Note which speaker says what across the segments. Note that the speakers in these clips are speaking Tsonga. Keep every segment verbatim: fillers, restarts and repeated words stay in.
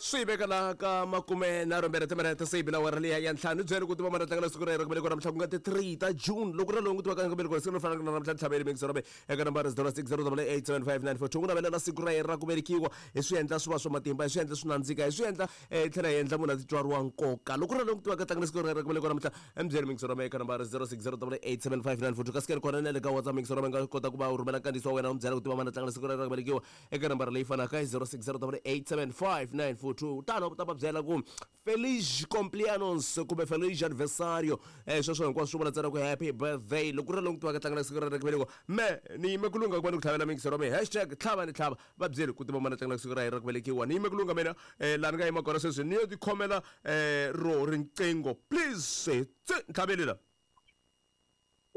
Speaker 1: Swi veka laha ka makume nharhu mbirhi timinete se yi bile awara liya ya ntlhanu. Byeli ku tiva mana tlangela siku rero kumbe namuntlha ku nga ti three ta June. Loko ri lowu ku tiva ka kumbe siku ro fana na namuntlha ntlhaveli mix robe eka nambara zero six zero double eight seven five nine four two. Ku navelela siku ra yena ra ku velekiwa hi swi endla swi va swa matimba, hi swi endla swi nandzika, hi swi endla eh tlhela hi endla munhu a titwa ri wa nkoka. Loko ri lowu ku tiva ka tlangela siku rero kumbe namuntlha mbyeli mix robe eka nambara zero six zero double eight seven five nine four two. Kasi ke kona na le ka WhatsApp mix robe nga kota ku va u rhumela nkandziyiso wa wena u byela ku tiva mana tlangela siku rero ra ku velekiwa eka nambara leyi fanaka zero six zero double eight seven five nine four two. Tano ta va byela ku feliz cumpleaños kumbe feliz aniversario, eh sweswo hinkwaswo swi vula ntsena ku happy birthday. Loko ri lowu ku tivaka tlangela siku ra ku velekiwa, me ni yime ku lungha ku va ni ku tlhavela mix robe hashtag tlhava ni tlhava. Va byeli ku tiva mana tlangela siku ra yena ra ku velekiwa. Ni yime ku lungha mina eh laha ni nga yima kona sweswi ni yo tikhomela eh ro riqingho please tse ntlhaveli la.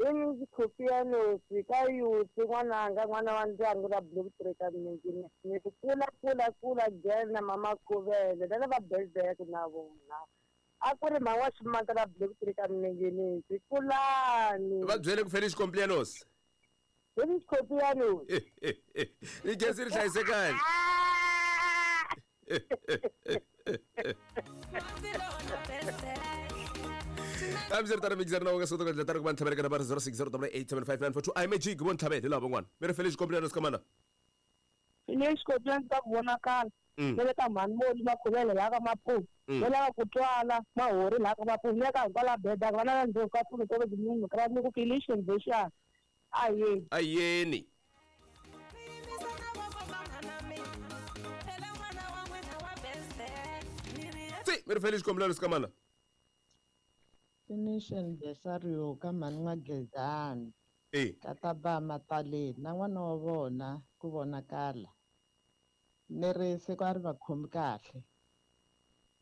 Speaker 2: Finish Copianos ka youth n'wananga n'wana wa ndyangu ra Blue Tree ka Minjini. Ni kula kula kula girl na mama Khuvele na lava birthday na vona. A ku ri mhani wa ximanga la Blue Tree ka Minjini. Kulani.
Speaker 1: Va byele ku Feliz Cumpleaños.
Speaker 2: Feliz Copianos.
Speaker 1: Ni gezi ri hlayisekani. I'm zero tara mixer na wanga soto ka tara ku ntlhavela ka nambara zero six zero double eight seven five nine four two. I'm a G ku ntlhavela hi lava van'wana. Mi ri Feliz Cumpleaños ka mana.
Speaker 2: Feliz Cumpleaños ka ku vonakala.
Speaker 1: Mm.
Speaker 2: Ne le ka mhani Moli Makhuvele laha ka Mapuve.
Speaker 1: Mm.
Speaker 2: Ne lava ku twala mahori laha ka Mapuve. Ne ka hikwalaho beda va na ndzhaku ka pfuno to munhu ka ni ku Feliz Cumpleaños. A yeni.
Speaker 1: A yeni. Tsi, mi ri Feliz Cumpleaños ka mana.
Speaker 3: Finish aniversario ka mhani N'wa-Gezani.
Speaker 1: Eh.
Speaker 3: Ka ta ba Mataleni na n'wana wa vona ku vonakala. Ni ri siku a ri va khomi kahle.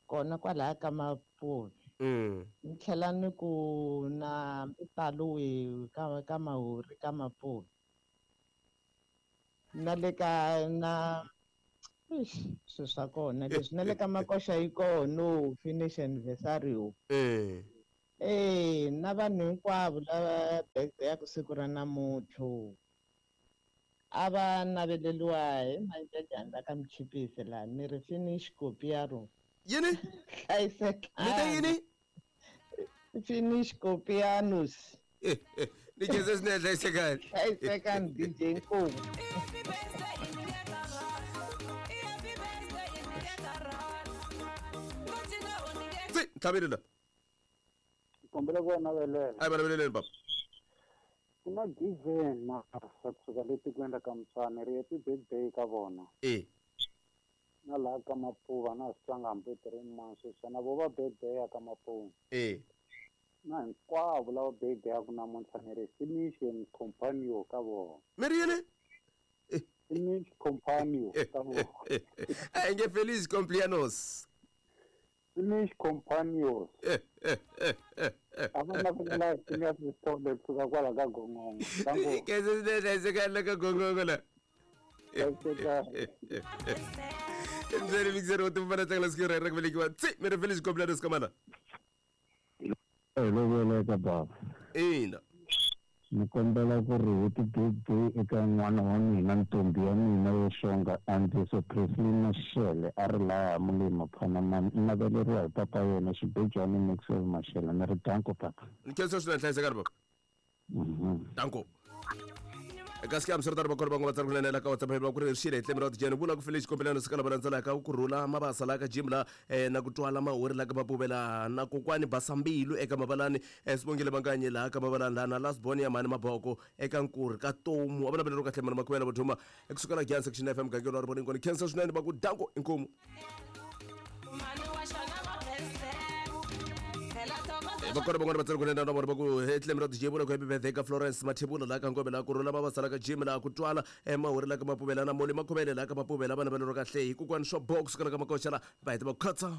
Speaker 3: Kona kwalaya ka Mapuve.
Speaker 1: Mm.
Speaker 3: Ni tlhela ni ku na Mpitaluwi ka ka Mahori ka Mapuve. Na le ka na eish swilo swa kona leswi na le ka Makoxa yi kona finish aniversario.
Speaker 1: Eh.
Speaker 3: Eh, na vanhu hinkwavo lava birthday ya ku siku ra namuntlha a va naveleriwa hi manjajani la ka Mchipisi laha ni ri finish Copiaro.
Speaker 1: Yini?
Speaker 3: Hlayisekani.
Speaker 1: Mi te yini?
Speaker 3: Finish Copianos.
Speaker 1: Ni khensa swinene, hlayisekani.
Speaker 3: Hlayisekani D J Nkomo.
Speaker 1: Tsi, ntlhaveli la.
Speaker 4: Kombela ku va navelela.
Speaker 1: A hi va naveleleni baba.
Speaker 4: Ku na Given Masa kusuka le tikweni ra ka Mutshwana ri happy birthday ka vona.
Speaker 1: Eh.
Speaker 4: Na laha ka Mapuva na swi twanga hambi three months sweswi na vo va birthday ya ka Mapuva.
Speaker 1: Eh.
Speaker 4: Na hinkwavo lava birthday ya ku namuntlha ni ri finish and companion ka vona.
Speaker 1: Mi ri yini?
Speaker 4: Finish companion ka vona.
Speaker 1: A nge Feliz Cumpleaños.
Speaker 4: Finish companions. A va navelela Phineas Sithole kusuka kwala ka Gongongo. Danko.
Speaker 1: Khensa swinene, hlayisekani la ka Gongongo la.
Speaker 4: Hlayisekani.
Speaker 1: Mbyeli mixer wo tiva tlangela siku ra ku velekiwa. Tsi, mi ri Feliz Cumpleaños ka mana.
Speaker 5: Hi lo veleka baba.
Speaker 1: Ina.
Speaker 5: Ni kombela ku ri happy birthday eka n'wana wa mina ntombi ya mina yo xonga Andiso Presley Mashele a ri laha Mulima Phanamani. I naveleriwa hi papa yena Xibejwani Maxwell Mashele. Ni ri danko papa.
Speaker 1: Ni khensa swinene, hlayisekani baba.
Speaker 5: Mhm.
Speaker 1: Danko. Kasi ke amsirtari va kona van'we va tsari kunene la ka WhatsApp va ku ri xile hi tlemi ra tijeni vula ku Feliz Cumpleaños ka lava landzelaka ku rhula mabasa la ka gym la eh, na ku twala mahori la ka Mapuve laha na kokwani Basambilu eka Mabalani eh, Sibongile Manganyi laha ka Mabalani laha na last born ya mhani Maboko eka Nkurhi ka Tomu. A va naveleriwa kahle mhani Makhuvela Vuduma ekusuka la Giyani Section F M mugangeni wa Rivoningo. Ni khensa swinene va ku danko inkomu. Va kona van'wana va tsari kunene na vona va ku he tlemi ra D J vula ku happy birthday ka Florence Mathebula laha ka Ngome laha ku rhula mabasa la ka gym laha ku twala eh, mahori la ka Mapuvela na Moli Makhuvele laha ka Mapuvela va naveleriwa kahle hi kokwani swa box ka la ka Makoxa la va heta va ku khatsa.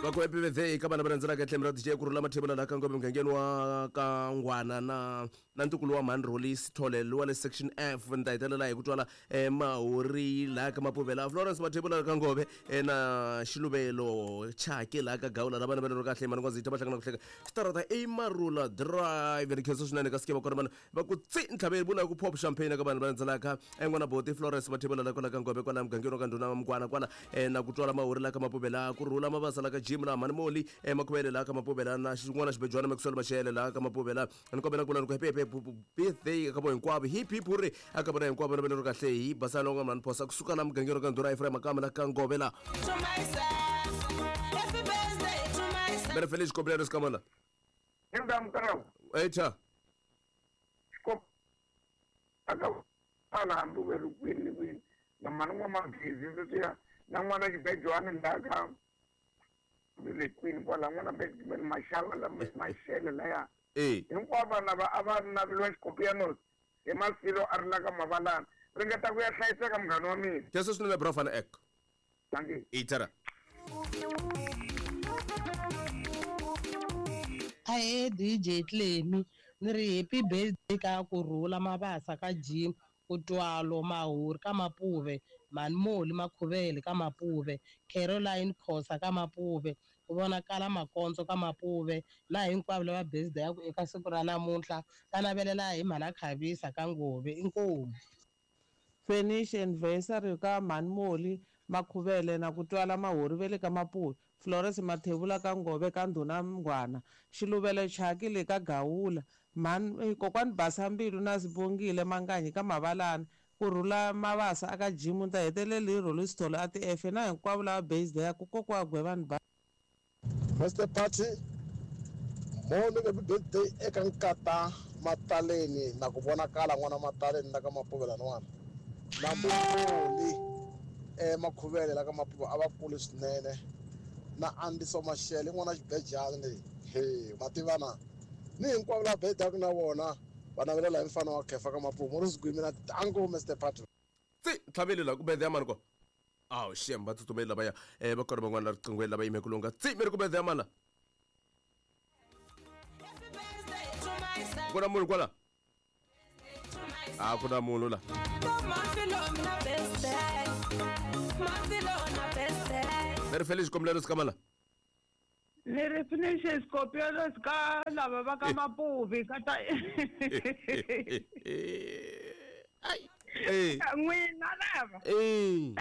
Speaker 1: Va ku happy birthday ka vana va landzelaka tlhelo ra D J ku rhula mathebula la ka Ngove mugangeni wa ka Ngwana na na ntukulu wa Mhani Roli Sithole wa le section F ni ta hetelela hi ku twala eh, Mahori laha ka Mapuvela Florence Mathebula ka Ngove eh, na Xiluvelo Chaki laha ka Gawula lava navelelo kahle mani Ngwazitha va hlangana ku hleka Starata i Marula Drive ni khensa swinene ka sikeva kona vanhu va ku tsi ntlhaveni vula ku pop champagne ka vanhu va landzelaka eh, n'wana boti Florence Mathebula la kwala ka Ngove kwala mugangeni wa ka Ndhuna Mukwana kwala eh, na ku twala Mahori la ka Mapuvela ku rhula Mabasa la ka Jim la Mhani Moli eh, Makhuvele la ka Mapuvela na xin'wana xibejwana Maxwell Mashele la ka Mapuvela ni kombela ku vula ni ku happy happy birthday ka vo hinkwavo hip hip hurray aka vona hinkwavo na velero kahle hi basana nga mhani phosa kusuka la mugangeni wa ka Ndhuna Ephraim Makamba la ka Ngove la
Speaker 6: To myself. Happy birthday to myself.
Speaker 1: Mere Felix Koblero Skamala
Speaker 4: Ingamkarawu
Speaker 1: echa
Speaker 4: xikop aka ala hambi we ri kwini kwini na mhani n'wamagezi sweswiya na n'wana xibejwani laha ka le kwini kwala n'wana Benjamin Mashava la Mashele laya
Speaker 1: eh
Speaker 4: hinkwavo vanhu lava a va naveliwa xikopianos hi Masilo a ri la ka Mavalana ringeta ku ya hlayiseka munghana wa mina
Speaker 1: khensa swinene bro van Eck
Speaker 4: thank
Speaker 1: itara
Speaker 7: Ahe D J Clemi ni ri happy birthday ka ku rhula Mabasa ka Jim ku twalo Mahori ka Mapuve Mhani Moli Makhuvele ka Mapuve Caroline Khosa ka Mapuve ku vonakala Makondzo ka Mapuve na hinkwavo lava birthday ya ku eka siku ra namuntlha ta navelela hi Mhana Khavisa ka Ngove inkomu.
Speaker 8: Finish anniversary ka Mhani Moli Makhuvele na ku twala Mahori ve le ka Mapuve Florence Mathebula ka Ngove ka Ndhuna Mngwana Xiluvelo Chaki le ka Gawula Mhani kokwani Basa Mbilu na Sibongile Manganyi ka Mavalana ku rhula Mabasa aka Jim ta heteleli hi Roli Sithole a ti F na hinkwavo lava birthday ya ku kokwa Gwevani ba
Speaker 9: Mister Party moni happy birthday eka nkata Mataleni na ku vonakala n'wana Mataleni la ka Mapuvela n'wana na Moli eh Makhuvele la ka Mapuve a va kule swinene na Andiso Mashele n'wana xibejani leyi he mativana ni hinkwavo lava birthday na vona va navelela hi mfana wa Khefa ka Mapuve mo ri swigwimi na tango Mister Party
Speaker 1: tsi ntlhaveli la ku birthday ya mani ko awu shem va tsutsumeli lavaya eh va kona van'wana la riqingweni lava yimeke lunga tsi mi ri ku birthday ya mani la
Speaker 6: Happy birthday to myself.
Speaker 1: ku na munhu kwala
Speaker 6: To myself.
Speaker 1: a ku na munhu la
Speaker 6: Mafilo na birthday. Mafilo na birthday.
Speaker 1: ni ri Felix Koblero Skamala
Speaker 2: Ni ri finish Scorpios ka lava va ka Mapuve ka ta
Speaker 1: ai eh
Speaker 2: n'wina lava
Speaker 1: eh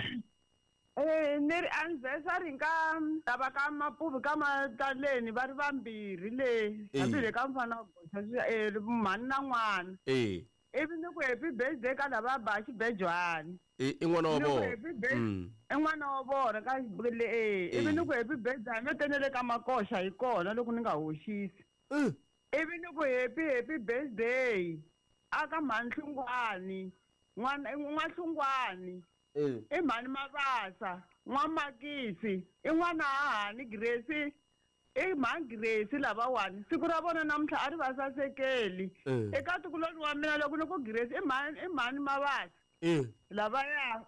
Speaker 2: eh ni ri anniversary ka lava ka Mapuve ka Mataleni va ri vambirhi le
Speaker 1: Eh.
Speaker 2: hambi le ka mfana wa goxa eh mhani na n'wana
Speaker 1: eh
Speaker 2: ivi ni ku happy birthday ka lava ba xibejwani
Speaker 1: i i n'wana wa
Speaker 2: Ni ku
Speaker 1: vona
Speaker 2: happy birthday
Speaker 1: Mm.
Speaker 2: i n'wana wa vona ka le eh ivi
Speaker 1: Eh.
Speaker 2: ni ku happy birthday hambi tenele ka Makoxa hi kona loko ni nga hoxisi
Speaker 1: Eh.
Speaker 2: ivi ni ku happy happy birthday aka Mhani Hlungwani n'wana n'wahlungwani
Speaker 1: Eh.
Speaker 2: i Mhani Mabasa n'wamakisi i n'wana hahani Grace i Mhani Grace lavawani siku ra vona namuntlha a ri va sasekeli
Speaker 1: Eh.
Speaker 2: eka ntukuloni wa mina loko ni ku Grace i Mhani i Mhani Mabasa
Speaker 1: Eh.
Speaker 2: lavaya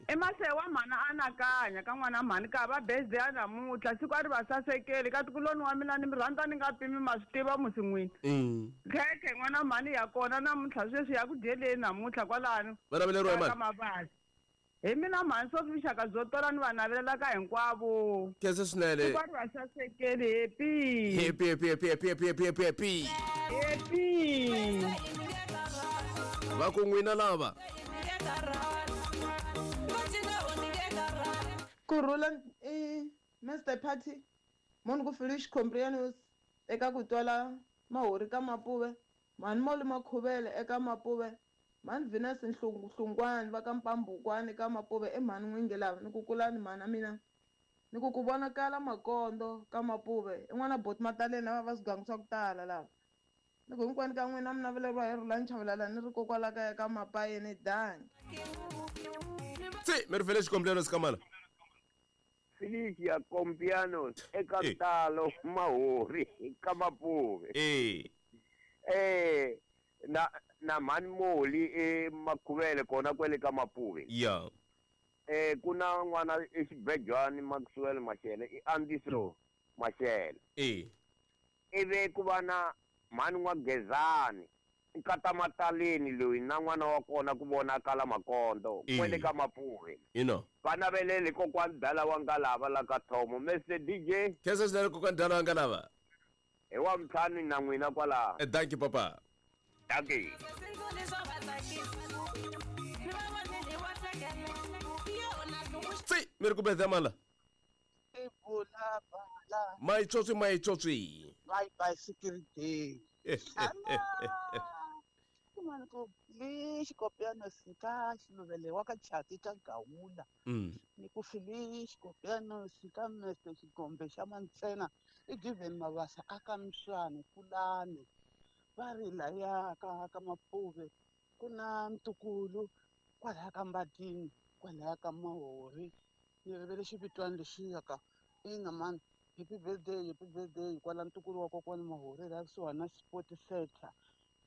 Speaker 2: i Masewa mhani anakanya ka n'wana mhani ka va birthday ya namuntlha siku a ri va sasekeli ka ntukuloni wa mina ni mi rhandza ni nga pimi ma swi tiva musi n'wini
Speaker 1: Mm.
Speaker 2: khekhe n'wana mhani ya kona namuntlha sweswi ya ku dyeleni namuntlha kwalano
Speaker 1: Va naveleriwa hi
Speaker 2: ka
Speaker 1: mani
Speaker 2: Mabasa hi mina mhani Sophie vuxaka byo tola ni va navelelaka hinkwavo
Speaker 1: khensa swinene
Speaker 2: siku a ri va sasekeli happy
Speaker 1: happy happy happy happy happy happy happy happy
Speaker 2: happy
Speaker 1: va ku n'wina lava
Speaker 8: ku rhula i Mister Party moni ku Felice Comprianos eka ku twala Mahori ka Mapuve Mhani Moli Makhuvele eka Mapuve Mhani Venus Hlungwani va ka Mpambukwani ka Mapuve i Mhani N'wingi lava ni ku kulani mhana mina ni ku ku vonakala Makondo ka Mapuve i n'wana Boti Mataleni lava va swigangu swa ku tala lava ni ku hinkwenu ka n'wina mi naveleriwa hi Rhulani Chavalala ni ri kokwala kaya ka Mapayeni dangi
Speaker 1: tsi mi ri Felix Koblero Skamala
Speaker 10: Felicia Compianos eka
Speaker 1: Eh.
Speaker 10: Talo Mahori ka Mapuve
Speaker 1: eh
Speaker 10: eh na na Mhani Moli e Makhuvele kona kwele ka Mapuve
Speaker 1: ya
Speaker 10: Eh ku na n'wana exibejwani Maxwell Mashele i Andiso Mashele.
Speaker 1: Eh.
Speaker 10: Ivi ku va na mhani n'wa Gezani nkata Mataleni loyi na n'wana wa kona ku vonakala Makondo kwele ka Mapuve.
Speaker 1: Ino.
Speaker 10: Va navelele kokwani Dala wa Ngalava la ka Thomo. Mister D J.
Speaker 1: Khensa swinene kokwani Dala wa Ngalava.
Speaker 10: Hi wa ntlhanu na n'wina kwalaho.
Speaker 1: Eh, thank you papa.
Speaker 10: Thank you.
Speaker 1: Tsi, mi ri ku birthday mala. Maitsotsi maitsotsi.
Speaker 11: My bicycle day. Mani ku le xikopiano sika xiluvele wa ka chati ta Gawula. Ni ku fili xikopiano sika mese xigombe xa mantsena i given mabasa aka mswani kulani va ri laya ka ka Mapuve ku na ntukulu kwalaya ka Mbatini kwalaya ka Mahori ni rivele xivitwani lexiya ka ina mani happy birthday happy birthday kwala ntukulu wa kokwani Mahori la kusuhani na sport center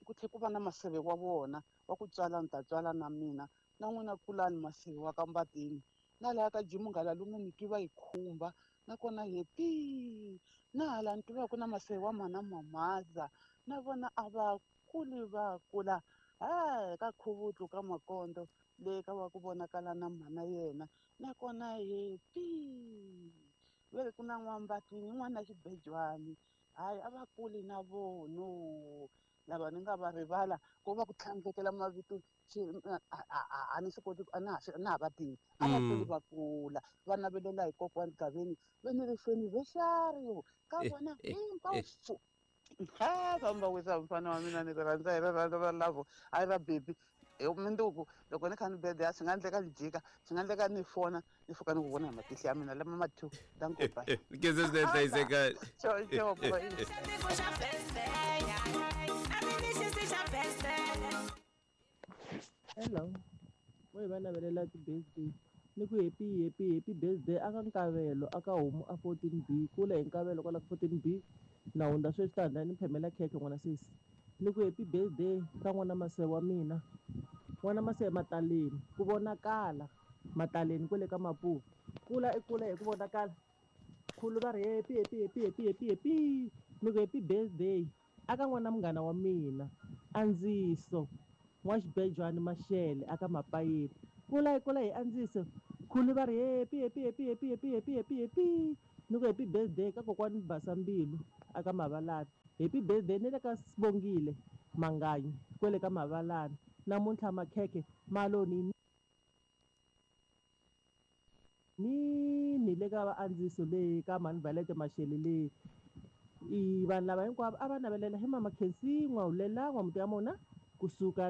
Speaker 11: ku tlhe ku va na maseve wa vona wa ku tswala ni ta tswala na mina na n'wina kulani maseve wa ka Mbatini na laha ka Jimu Ngalalume ni twi va yi khumba nakona happy na hala ni tiva ku na maseve wa mana Mamaza na vona a va kuli va kula ha ka Khuvutlu ka Makondo le ka wa ku vonakala na mhana yena nakona happy ve ri ku na n'wambatini n'wana xibejwani hayi a va kuli na vono lava ni nga va rivala ku va ku tlhandlekela mavito a ni swi koti a na ha na ha va tivi a va kuli va kula va navelela hi kokwani Gaveni ve ni ri anniversary ka vona hinkwaswo ha famba wisa mfana wa mina ni ri rhandza hi rirhandzu ra lavo a ra baby hi minduku loko ni kha ni birthday a swi nga endleka ni jika swi nga endleka ni fona ni fika ni ku vona hi matihlo ya mina lama ma two danko bye
Speaker 1: Khensa swinene hlayiseka.
Speaker 11: Sure, sure, boy.
Speaker 7: Hello. Mo hi va navelela ti-birthday ni ku happy happy happy birthday aka Nkavelo aka homu a fourteen B kula hi Nkavelo kwala ka fourteen B na hundza sweswi ta hundza ni phemela khekhe n'wana sesi ni ku happy birthday ka n'wana Maseve wa mina n'wana Maseve Mataleni ku vonakala Mataleni kwele ka Mapuve kula i kula hi ku vonakala khulu va ri happy happy happy happy happy happy ni ku happy birthday aka n'wana munghana wa mina Andziso n'wa xibejwani Mashele aka Mapayeni kula hi kula hi Andziso khulu va ri happy happy happy happy happy happy happy happy ni ku happy birthday ka kokwani Basa Mbilu aka Mavalani happy birthday ni le ka Sibongile Manganyi kwele ka Mavalani namuntlha makhekhe maloni ni ni le ka va Andziso le ka mhani Valete Mashele le i vanhu lava hinkwavo a va navelela hi mama Khensi N'wahulela N'wamuti ya mona kusuka la